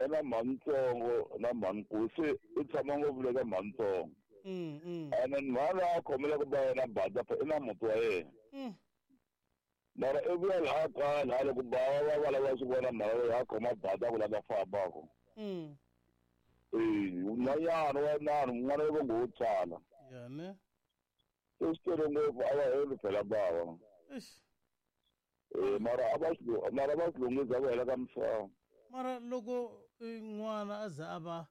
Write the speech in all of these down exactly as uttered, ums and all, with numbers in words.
I na mhanitsongo na mhanikulu se i tshama ngopfu le ka mhanitsongo. Mm mm. Ene mhani a khomela ku ba yena bada i na muti wa yena. Mm. Mara i vuya laha kaya laha loko bava va va lava swi vona mhaka leyi a khoma bada ku lava fambaka. Mm. Eh, un'wanyana wa nani un'wana wa ngo wo tsala. Ya ne. Se swi tele ngopfu a va heli phela bava. Eish. Eh, mara a va swi mara va swi lunghisa ku hela ka misava. Mara loko n'wana a za a va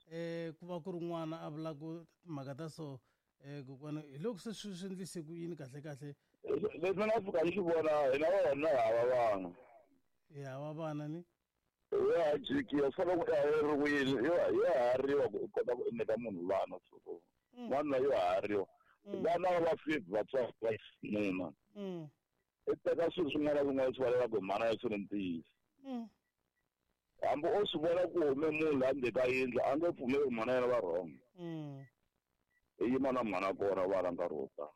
eh ku va ku ri n'wana a vula ku timhaka ta so eh kokwana hi loko se swi swi endlise ku yini kahle kahle. Leswi nga fika ni swi vona hina vona hava vana. Hi hava vana ni? Ya jikiwa swi fanele ku hariwile yo hariwa ku kota ku nyika munhu vana so n'wana yo hariwa vana va fifty vatswari va xinuna. I teka swilo swin'wana na swin'wana swi valelaka hi mhana ya swi ri ntiyiso. Hambi o swi vona ku hume munhu laha ndzeni ka yindlu a nge pfumeli ku mhana yena va wrong. I yima na mhana kona vana nkarhi wo tala.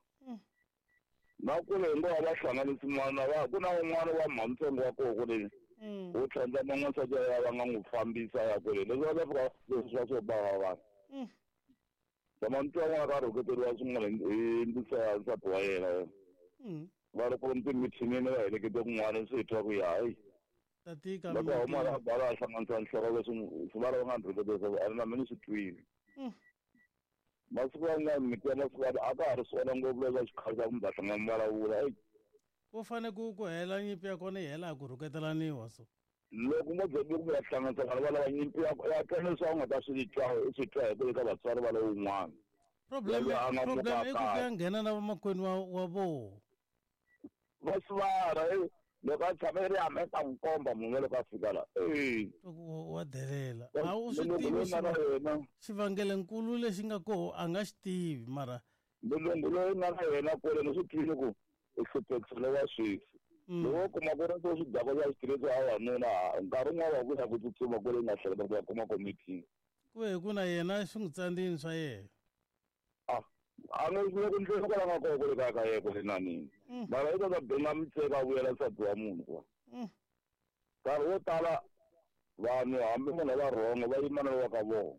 Na kule hi ngo va hlanganisi n'wana va ku na un'wana wa mhanitsongo wa koho kule wo tlhandlama n'wansati ya va nga n'wi fambisa ya kule leswi va ta fika leswi va swo bava vanhu. Tama ni twa n'wana ka rhuketeriwa swin'wana hi ndisa ya nsati wa yena. Va ri ku timithinini va helekete kun'wana swi hi twa ku ya hayi. Tatika loko huma la bala a hlanganisa nhloko leswi swi va va nga rhuketerisa a ri na mina swi twile. Masiku yan'wana miti ya masiku a ka ha ri swona ngopfu leswi xikhale xa kumbe va hlangana vulavula eyi. Ku fane ku ku hela nyimpi ya kona yi hela ku rhuketelaniwa so. Loko mo ze ku ya hlanganisa vanhu va lava nyimpi ya ya twa leswi a wu nga ta swi twa u swi twa hi ku eka vatswari va lowun'wana. Problem problem i ku ya nghena na vamakwenu wa wa voho. Va sivara loko a tshame ri hamesa n'wi komba munhu loko a fika la. Eh. Wa delela. A wu swi tivi xivangelonkulu lexi nga koho a nga xi tivi mara. Mulungu loyi nga na yena kule ni swi twile ku u hluphekisile wa sweswi. Loko kuma ku ri swo swi daka swa xitirhisiwa a wanuna nkarhi wun'wana wa ku ya ku tsutsuma kule nga hleketa ku ya kuma komiti. Ku ve ku na yena swi n'wi tsandzini swa yena. Ah, a nge swi ku ndlela kwala nga kona kule kaya ka yena kule na nini. Mara i ta ta benga mitseka a vuyela nsati wa munhu kwa. Nkarhi wo tala vanhu hambi munhu va rhongo va yima na wa ka vona.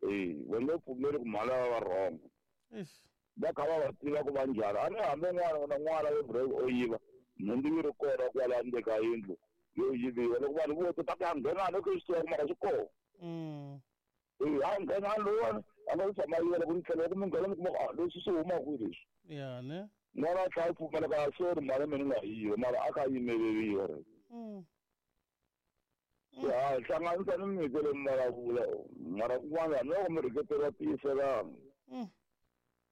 Eh, va nge pfumeli ku mhana va rhongo. Eish. Va kha va va tiva ku va njhani. A ni hambi n'wana na n'wana yo break o yiva nhundzu yi ri kona kwala ndzeni ka yindlu yo yiviwa loko vanhu vo ta ku ya nghena loko swi tiva mara swi kona. Eh, a nghena lowani a nga tshama yiva loko ni tlhela loko mi nghena mi kuma ku leswi swi huma kwihi leswi. Ya ne. N'wana a tlhela a pfumela ka sorry mhana mina ni nga yiva mara a kha a yimeleriwa re. Ya hlanganisa ni miti leyi mi vulavula mara kun'wana hambi loko mi rhuketeriwa tiyiselanga.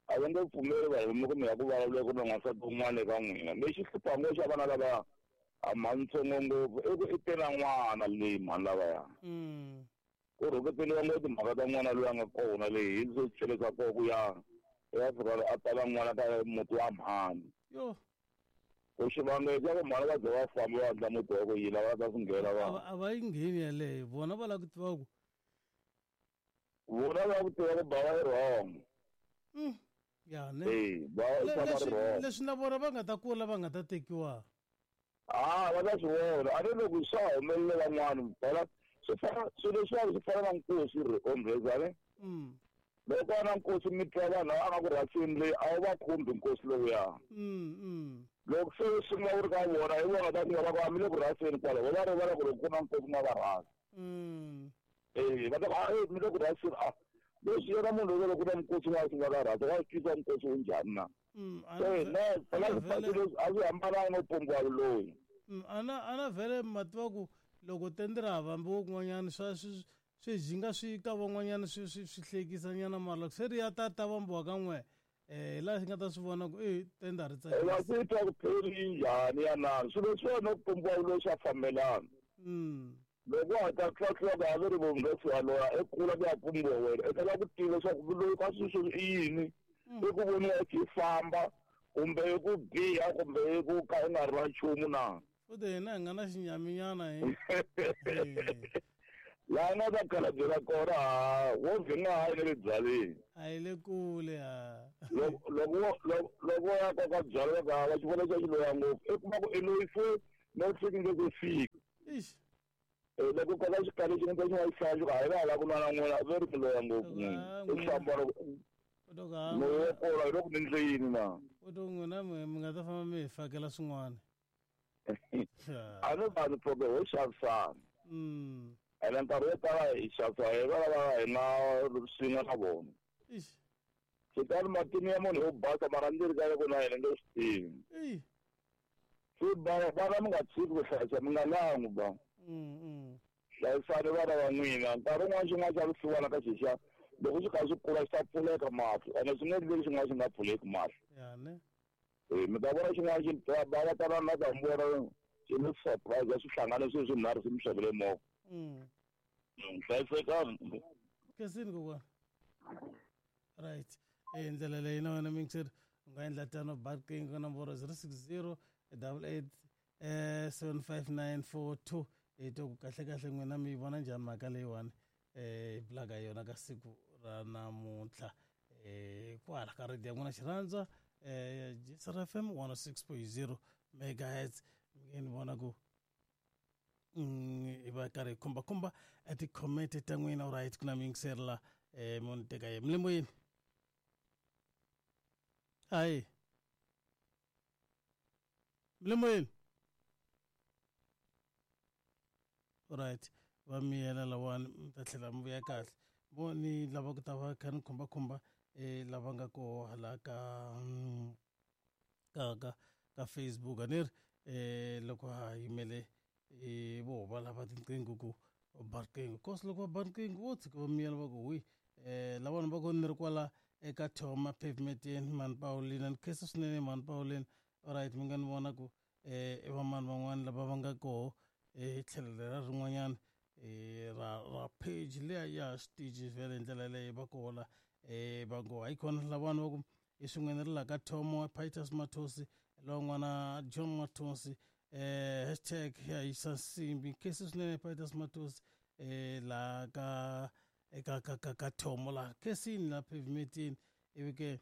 A va nge pfumeli vanhu mi ku mi ya ku vulavula ku na n'wansati un'wana eka n'wina. Lexi hlupha ngopfu xa vana lava a mhanitsongo ngopfu i ku i te na n'wana leyi mhani lavaya. Ku rhuketeriwa ngopfu timhaka ta n'wana loyi a nga kona leyi hi swo chelesa koho ku ya ya fika a tala n'wana ka muti wa mhani. Yo. Ku xivangelo xa ku mhani va ze va famba va endla muti wa ku yini va ta swi nghena va. A va yi ngheni yaleyo vona va lava ku tiva ku. Vona va ku tiva ku bava yi wrong. Ya ne. Eh, ba Le- va leswi wrong. leswi na vona va nga ta kula va nga ta tekiwa. Ah, va ta swi vona. A ni loko swa humelele van'wana phela swi fana swilo leswiwani swi fana na nkosi ri ombreza ne. Mm. Loko va na nkosi mi twa vanhu lava nga ku rhasini leyi a wu va khumbi nkosi lowuya. Mm mm. Loko se swi nga wu ri ka vona hi vona ta ku va ku a mi le ku rhaseni kwala va rivala ku loko ku na nkosi ma va rhasa. Mm. Eh, va ta ku a mi le ku rhaseni a leswi yena munhu loko ku na nkosi wa swi nga ka rhasa wa swi tisa nkosi wu njhani na. Mm, Se ne phela swi a swi hambananga no pumbiwa loyi. Mm, ana ana vhele ma tiva ku loko tende ra vambiwa kun'wanyana swa swi swi jinga swi ka van'wanyana swi swi swi hlekisanyana mara loko se ri ya ta ta vambiwa ka n'we eh laha xi nga ta swi vona ku e tende a ri Eh, va tsakisi. swi twa ku pheli yi njhani ya nani swilo leswiwani no pumbiwa loyi swa fambelana. Mm. Loko wa ha ta tlhwatlhwa ka ha ri vumundhesi wa loya i kula ku ya pumbiwa wena i ta lava ku tiva leswaku loyi ka swilo sweswi i yini i ku voniwa i famba kumbe i ku biha kumbe i ku ka i nga ri na nchumu na. Futhi hina hi nga na xinyaminyana hi. Laha nga ta khalabye kona ha wo vhe nga ha yi le byaleni. A yi le kule ha. Loko loko loko ya koka byalwa ka va xi vona xa xi loya ngopfu i kuma ku i loyi se no fiki nge ku fika. Eish. Loko kala xikali xi nga xi nga xi xi hayi la ku nwana n'wina ve ri miloya ngopfu u hlambara loyo kola loko ni ndle yini na u to n'wina mi nga ta famba mi hi fakela swin'wana a ni vanhu problem ho xavisana ene nkarhi wo tala hi xavisa hi va lava hi nga swin'we na vona xitani matini ya munhu yo basa mara ndzi ri ka ku na yena nge swi tivi se vana mi nga tshiki ku hlayisa mi nga langu ba hlayisani vana va n'wina nkarhi wun'wana xin'wana xa vusiwana ka xixa loko xi kha xi kula xi ta pfuleka mahlo ene swi nge endleki xin'wana xi nga pfuleki mahlo e mi ta vona xin'wana xi va tana na ta vona xi ni surprise ya swihlangane swilo swinharhu swi mi xavele movha hlayisekani kesini kokwana right e ndlela leyi na wena mingiseri u nga endla tano barking ka nomboro zero six zero double eight seven five nine four two hi twa ku kahle kahle n'wina mi yi vona njhani mhaka leyiwani eh hi bulaka yona ka siku ra namuntlha eh kwala ka radio ya n'wina xirhandza eh G S R F M one oh six point zero megahertz mi ni vona ku hi va karhi hi khumbakhumba a ti-comment ta n'wina right ku na mi yingiseri la eh mo ni teka ye milimoyeni hayi milimoyeni right va miyela lawani mi ta tlhela mi vuya kahle vo ni lava ku ta va kha ni khumbakhumba eh lava nga koho hala ka ka ka ka Facebook a ni ri eh loko ha yimele eh vo va lava tinqingho ku ba riqingho cause loko va ba riqingho vo tshika va miyela va ku wi eh lavana va ku ni ri kwala eka Thoma pavementeni mani Paulina ni khensa swinene mani Paulina alright mi nga ni vona ku eh i vamani van'wani lava va nga koho hi tlhelo lera rin'wanyana ra ra page liya ya xitichi vhele hi ndlela leyi va kola eh va ngo hayi khona lavana va ku i swin'wana ri la ka Thomo Pitus Mathosi lowun'wana John Mathosi eh hashtag ya yisa nsimbi khensa swinene Pitus Mathosi eh la ka eka ka ka ka Thomo la khensini la pavementini ivi ke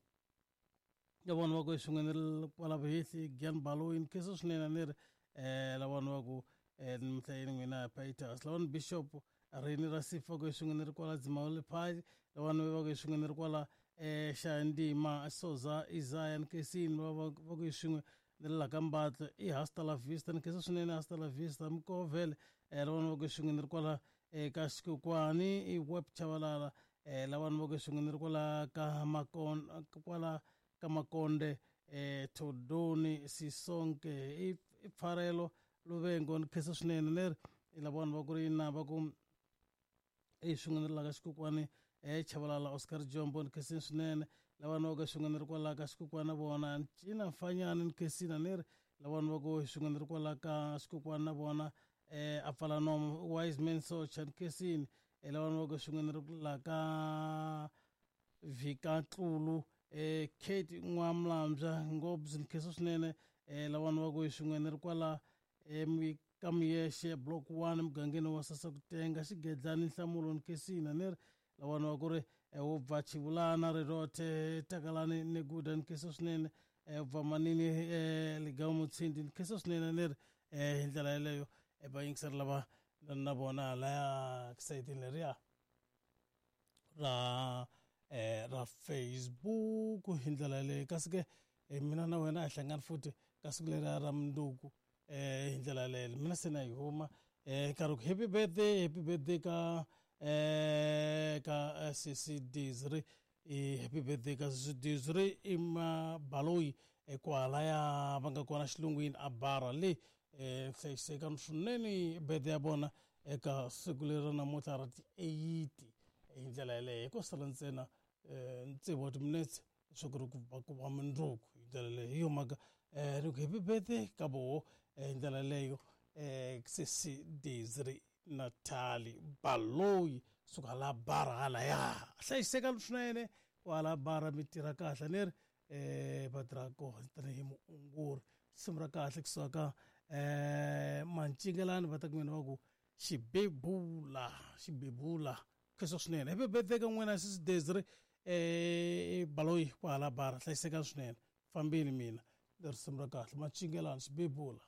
ya vona va ku i swin'wana ri kwala vuhehli Gian Baloyi khensa swinene ni ri eh lavana va ku mhlayeni n'wina Pitus lavana Bishop Reni ra Sifa ku swin'wana ri kwala Dzimawule Phali lavana va ku swin'wana ri kwala eh Xandima Soza Isaiah Nkesini va va ku swin'we ni la ka Mbatlo i Hasta la Vista nkhensa swinene Hasta la Vista Mkovele eh lavana va ku swin'wana ri kwala eka Xikokwani i Web Chavalala eh lavana va ku swin'wana ri kwala ka Makon kwala ka Makonde eh Todoni Sisonke i Pfarelo Luvengo nkhensa swinene leri i lavana va ku ri na va ku i swin'wana ri la ka Xikokwani eh Chavalala Oscar Jombo nkhensa swinene lavana va ku swin'wana ri kwala ka Xikokwani vona Ncina Mfanyana nkhensina ni ri lavana va ku swin'wana ri kwala ka Xikokwani na vona eh a pfala nomo Wise Man Socha nkhensini lavana va ku swin'wana ri la ka Vika Tlulu eh Kate N'wamlambya ngopfu nkhensa swinene eh lavana va ku swin'wana ri kwala em ka Muyexe block one mugangeni wa Sasakutenga Xigedlani Nhlamulo nkhensina ni ri lavana va ku ri wo bva Chivulana Rirothe Takalani Neguda nkhensa swinene bva Manini Ligamu Mutshindi nkhensa swinene ni ri hi ndlela yeleyo va yingiseri lava na vona laya sayitini leriya ra eh ra Facebook hi ndlela yeleyo kasi ke mina na wena a hi hlangani futhi ka siku leriya ra mundzuku eh hi ndlela yeleyo mina se na yi huma eh nkarhi ku happy birthday happy birthday ka eh ka C C Dizri i happy birthday ka C C Dizri i Mabaloyi kwala ya va nga kona xilungwini a bara le eh hlayisekani swinene birthday ya vona eka siku leri namuntlha ra ti eight hi ndlela yeleyo hi ko sala ntsena tsevu wa timinetse leswaku ri ku va ku va mundzuku hi ndlela leyo hi yo mhaka eh ri ku happy birthday ka voho hi ndlela leyo eh C C Dizri Natali Baloyi suka la bara hala ya hlayisekani swinene kwala bara mi tirha kahle ni ri eh va tirha kona tanihi muongori risimu ra kahle kusuka ka eh Mancingelani va ta ku mina va ku xibebula xibebula khensa swinene happy birthday ka n'wina C C Dizri eh Baloyi kwala bara hlayisekani swinene fambini mina risimu ra kahle Mancingelani xibebula.